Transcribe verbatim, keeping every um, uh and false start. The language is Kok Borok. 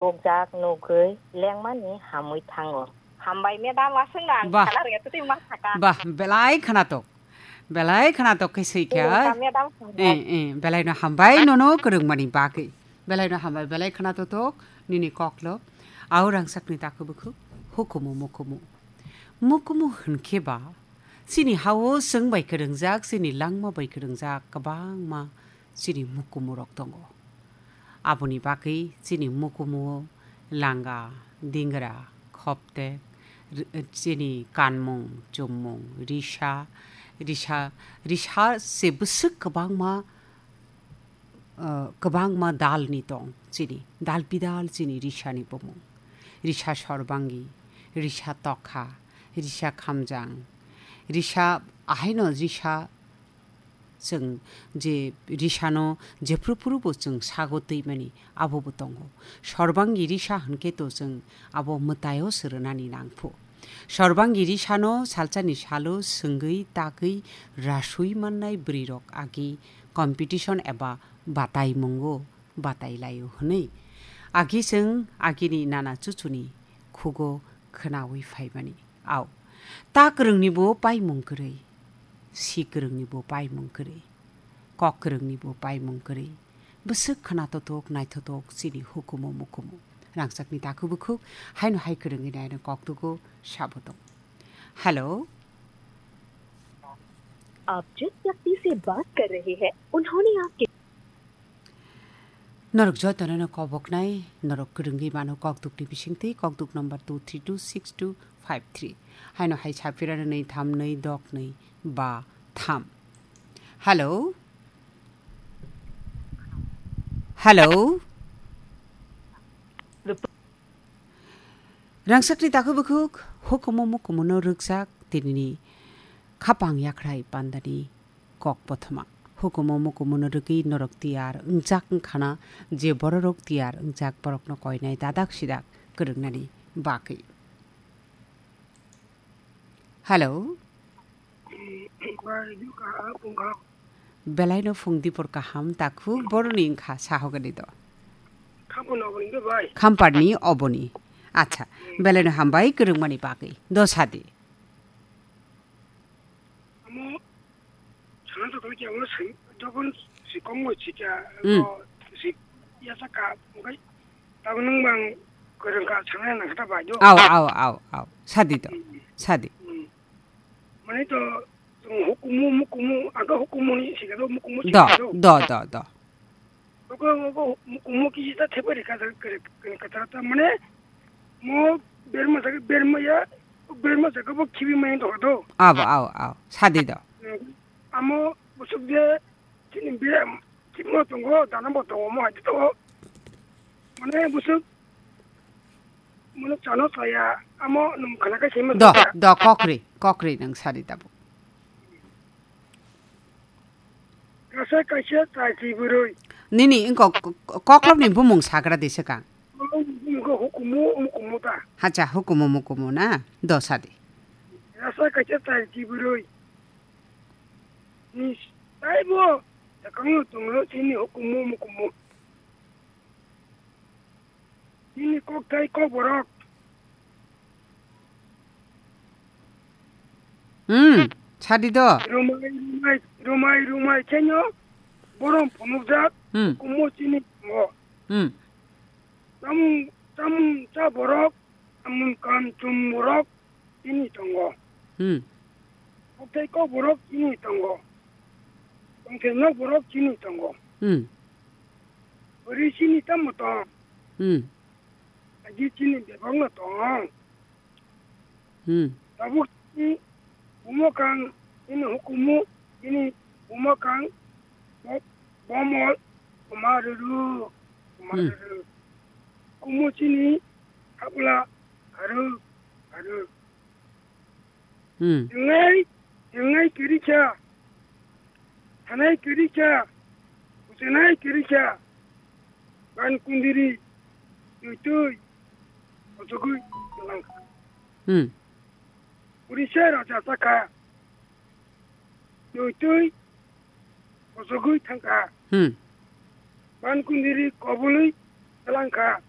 Nukjak nugwi lengmani hamwi thango. Hambai madam, aswkno ang Bah. Khana rwya, twtwi ma sakha. Bah, belai khwnatok. Belai khwnatok khe swi kha. Nini ta madam hambai. Eh, eh, belaino hambai nono kwrwngmani bagwi. Belaino hambai, belai khwnatok nini koklo. Au rangchakni takhuk bukhuk, hukumu mukumu. Mukumu hwnkhe ba, chini hao chwng bai kwrwngjak, chini langma bai kwrwngjak kwbangma chini mukumurok tongo. Aboni bagwi chini mukumuo langa, dingra, khoptek, ri-, chini kanmung, chummung, risa, risa, risa se bwswk kwbangma, uh, kwbangma dalni tong chini. Dal bidal chini risani bumung. Risa sorbangi, risa tokha, risa khamjang, risa ahaino risa Chwng je risano jephru phrubo chwng sago twimani abobo tongo. Sorbangi risa hwnkhe to chwng abo mwtaio swrwnani nangphu. Sorbangi risano salsani salo swngwi tagwi rasui mannai bwrwirok agi competition eba batai mungo batai laio hwnwi. Agi chwng agini nana chuchuni khugo khwnawi phaimani. Au, ta kwrwngni bo paimung kwrwi, si kwrwngni bo paimung kwrwi, kok kwrwngni bo paimung kwrwi, bwswk khwna totok naithotok chini hukumu mukumu. Rangchakni takhuk bukhuk, haino hai kwrwngwi naino kok tugo sabo tong. Hello. आप जिस व्यक्ति से बात कर रहे हैं, उन्होंने आपके Norok jotono no koboknai, norok kwrwngwi mano kokdukni bisingtwi, kokduk number two three two six two five three. Haino hai sapirano nwi tham nwi dok nwi ba tham. Hello? Hello? Rangchakni takhuk bukhuk, hukumu mukumu no rwkjak tinini khapang yakhrai pandani kok kothoma. Hukumu mukumu no rwgwi norok tiyar wngjak wngkhana, je bororok tiyar wngjak borokno koinai dadak sidak kwrwngnani bagwi. Hello. Belaino phung dipor kaham takhuk boroni wngkha sahogani do. Khamparni oboni. Acha, belaino hambai kwrwngmani bagwi. Do sadi. Amo sana to kali amo sing jokon sikong mo sikya Hmm. Ko sik ya saka mukai tabung nung bang kereng ka sana nang kata bajo. Au, au, au, au. Sadi to. Hmm. Sadi. Hmm. Mane to hukumu mukumu aga hukumu ni sikado mukumu Do, sikado. Do, do, do. Ogo, ogo, mukumu kisi ta thepa rika ta kere, kere katra ta mane mo berma jaga, berma ya, berma jaga bo khibi mai do do. Abo, ao, ao. Sadi do. Hmm. Amo busuk je, chini be, chimo tongo, dana bo tongo, mo hai to. Mane busuk, mane chano saya, amo num khana kai sima Do, saya. Do, kokri, kokri nang sadi tabo. Kaisa kaisa chai twi bwrwi. Nini wngkok, koklopni bumung sagra di swkang. Koklopni bumung khe hukumu, mukumu ta. Hacha, hukumu, mukumu na? Dosa di. Kaisa kaisa chai twi bwrwi. Ni taibo sakangno tonglo chini hukumu, mukumu. Nini kokthai kokborok. Hmm, sadi do. Rumai, rumai, rumai, rumai khenyo borom phunukjak Hmm. Kumo chini tongo. Hmm. Tamung, tamung cha borok, tamung kam chum borok chini tongo. Hmm. Kokthai kokborok chini tongo. Tongthai nok borok chini tongo. Hmm. Bwrwi chini tamo tong. Hmm. Agi chini bebak no tong. Hmm. Tabuk chini bumo kang chini hukumu chini bumo kang bo-, bomol kumaruru, Hmm. Kumaruru. Kumu chini habla haru, haru. Hmm. Twngnai, twngnai kwrwi kha, thanai kwrwi kha, kuchunai kwrwi kha, ban kundiri, twi twi, kochogwi twlang kha. Hmm. Purisa raja sakha, twi twi, kochogwi thang kha. Hmm. Ban kundiri kobului twlang kha.